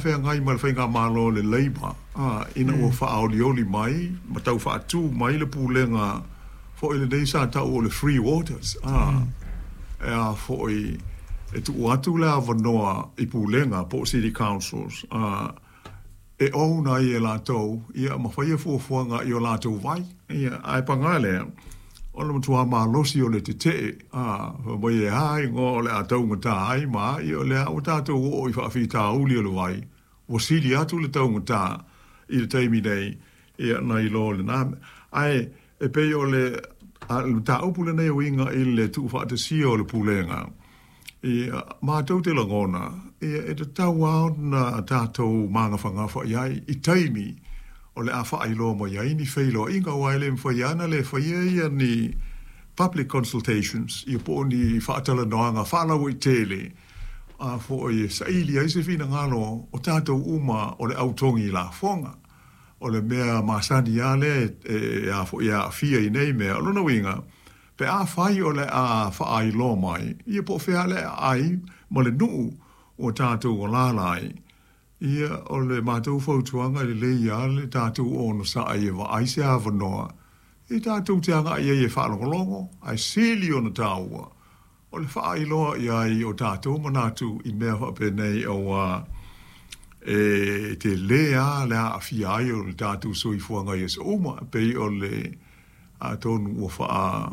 feagai ma le faigamalo a le Labour ina ua faaolioli mai ma tau faatu mai le pulega foi lenei sa tau o le Free Waters, e a foi e tuu atu le avanoa i pulega po o city councils e own ai e latou ia ma faia fuafuaga i o latou vai. Ia, ae paga lea, o le matua malosi o le tetee, fai mai e a igoa o le a taugata ai ma a, ia o lea ua tatou oo i faafitauli o le vai, ua sili atu le taugata i le taimi nei, ia nai lo lena. Ae e pei o le mataupu lenei e uiga i le tuufaatasia o le pulega, ia, matou te lagona, ia, e tatau lava ona tatou magafagafa i ai i taimi o le a faailoa mai ai ni feiloaiga, aua e le mafai lava ona le faia ia ni public consultations, ia po o ni faatalanoaga faalauaitele, a foi e saili ai se finagalo o tatou uma o le au togi lafoga. O le mea masani lava lea e a foi e aafia i nei mea. O lona uiga, pe afai o le a faailoa mai, ia po o fea le aai ma le nuu ua tatou alaala ai, ia o le matou fautuaga e lelei lava le tatou onosai e vaai se avanoa e tatou te agai ai e faalogologo, ae sili ona taua o le faailoa i ai o tatou manatu i mea faapenei aua e tele lava le aafia ai o le tatou soifuaga i aso uma, e pei o le atonu ua faa